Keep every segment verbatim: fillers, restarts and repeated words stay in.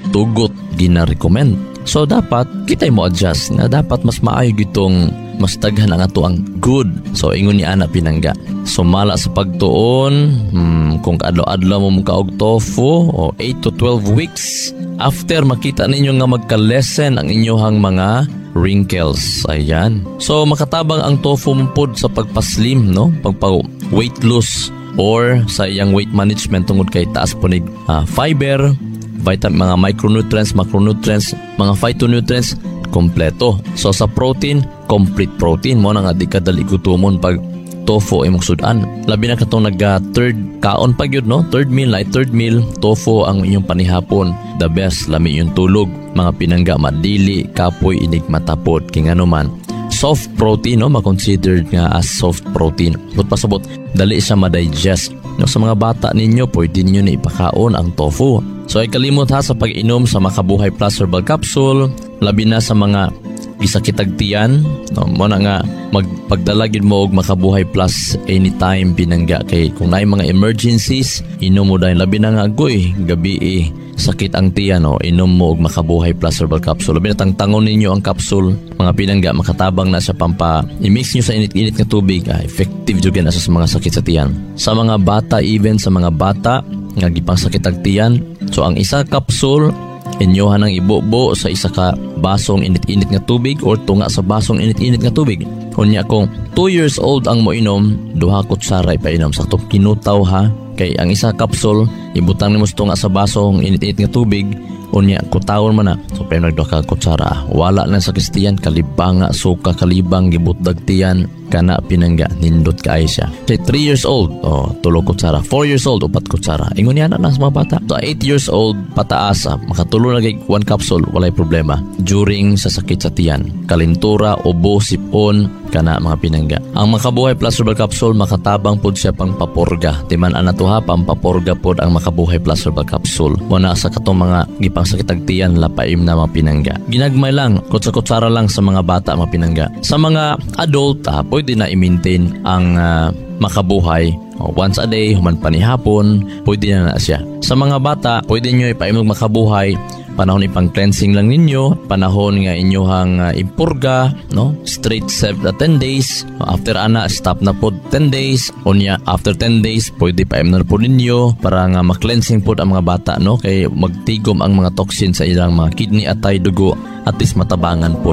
gitugot, gina-recommend. So dapat kitay mo adjust nga dapat mas maayo gitong mas daghan ang ato ang good. So ingon ni ana, pinangga. Sumala sa pagtuon, hmm, kung kaadlaw-adlaw mo mukaog tofu o eight to twelve weeks after, makita ninyo nga magka-lessen ang inyong mga wrinkles. Ayan. So makatabang ang tofu mo pod sa pagpaslim, no? Pagpa weight loss or sa iyang weight management tungod kay taas po ni ah, fiber, vitamin, mga micronutrients, macronutrients, mga phytonutrients, kompleto. So sa protein, complete protein mo na nga di ka dali gutomon pag tofu imong sudan. Labi na katong nag ah, third kaon pa gyud, no? Third meal, like third meal, tofu ang inyong panihapon. The best, lami yung tulog. Mga pinangga, madili, kapoy, inig matapod. Kay ngano man, soft protein, no, ma-considered nga as soft protein. But pasabot, dali siya ma-digest. No, sa mga bata ninyo, pwede ninyo na ipakaon ang tofu. So ay kalimot ha sa pag-inom sa Makabuhay Plus Herbal Capsule, labi na sa mga gisakitag tiyan, no, mo na nga magpagdala gid mo og Makabuhay Plus anytime, pinangga, kay kung naay mga emergencies, inom mo dahil. Labi na nga agoy gabi eh, sakit ang tiyan, no, inom mo og Makabuhay Plus Herbal Capsule. Labi na tangtangon ninyo ang capsule, mga pinangga, makatabang na sa pampa i-mix nyo sa init-init nga tubig, ah, effective jud na sa mga sakit sa tiyan sa mga bata, even sa mga bata nga gipangsakit ang tiyan. So ang isa capsule inyohan ang ibubo sa isa ka basong init-init nga tubig or tunga sa basong init-init nga tubig. Unya kung two years old ang moinom, duha kutsara ipainom. Sakto kinutaw ha, kay ang isa capsule ibutang nimo sa tunga sa basong init-init nga tubig, unya kutawon man na. So pero nagduha ka kutsara, wala lang sa tiyan, kalibanga, suka, kalibang, gibutdag tiyan kana, pinangga, nindot kaayo siya. Kay three years old, oh, tulo kutsara. four years old, upat kutsara. Ingon niya na sa mga bata. So eight years old pataas, ah, makatulo na kay one capsule, walay problema. During sa sakit sa tiyan, kalintura, ubo, sipon, kana, mga pinangga. Ang Makabuhay Plus Herbal Capsule makatabang pod siya pang papurga. Timan ana to ha, pampapurga pod ang Makabuhay Plus Herbal Capsule. Muna sa katong mga gipang sakit tiyan, lapaim na, mga pinangga. Ginagmay lang, kutsa-kutsara lang sa mga bata, mga pinangga. Sa mga adult, ah, pwede na i-maintain ang ah, Makabuhay. Oh, once a day, human panihapon, pwede na na siya. Sa mga bata, pwede nyo ipaimog Makabuhay panahon ipang cleansing lang ninyo, panahon nga inyohang uh, impurga, no? Straight seven uh, ten days. After ana, stop na po ten days. Unya after ten days, pwede pa na po ninyo para nga ma-cleansing po ang mga bata, no? Kay magtigom ang mga toxin sa ilang mga kidney at tay dugo, at least matabangan po.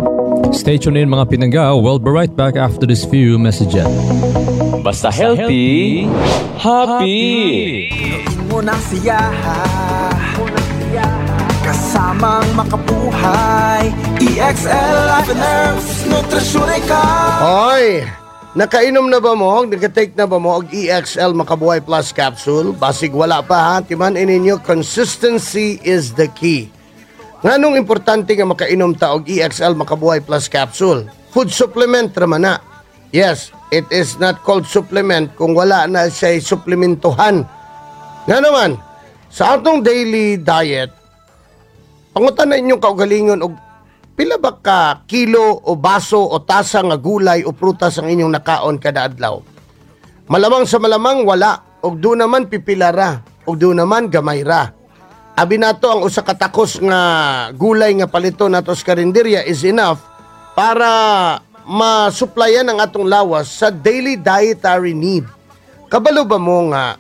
Stay tuned in, mga pinangga. We'll be right back after this few messages. Basta healthy, happy. Mo ng siya kasamang makabuhay. E X L Life and Herbs. Nutrisyon ikaw. Hoy! Nakainom na ba mo? Naka-take na ba mo og E X L Makabuhay Plus Capsule? Basig wala pa ha. Timan ninyo, consistency is the key. Nganong importante nga makainom ta og E X L Makabuhay Plus Capsule? Food supplement raman na. Yes, it is not called supplement kung wala na siya suplementohan. Nga naman, sa atong daily diet, pangutan na inyong kaugalingon og pila ba ka kilo o baso o tasa nga gulay o prutas ang inyong nakaon kada adlaw. Malamang sa malamang wala, og do naman pipilara og do naman gamay ra. Abi nato ang usa ka takos nga gulay nga palito nato sa karinderya is enough para masuplayan ang atong lawas sa daily dietary need. Kabalo ba mo nga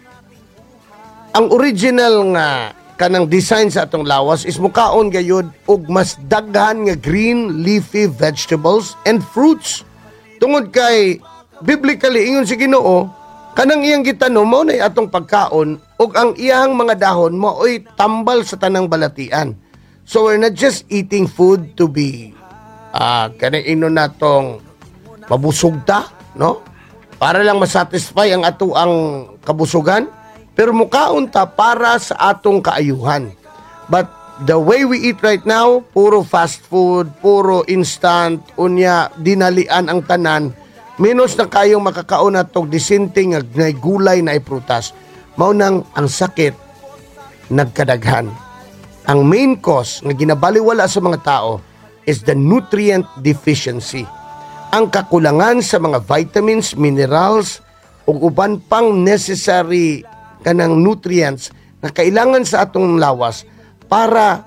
ang original nga kanang design sa atong lawas is mukaon gayud og mas daghan nga green leafy vegetables and fruits? Tungod kay biblically, ingon si Ginoo, kanang iyang gitanom mao nay atong pagkaon ug ang iyang mga dahon mao'y tambal sa tanang balatian. So we're not just eating food to be ah kanang ino natong mabusog ta, no, para lang masatisfy ang ato ang kabusugan, pero mukaon ta para sa atong kaayuhan. But the way we eat right now, puro fast food, puro instant, unya dinalian ang tanan, menos na kayong makakaon natog disente nga nay gulay na prutas. Mao nang ang sakit nagkadaghan. Ang main cause nga ginabaliwala sa mga tao is the nutrient deficiency. Ang kakulangan sa mga vitamins, minerals, ug uban pang necessary kanang nutrients na kailangan sa atong lawas para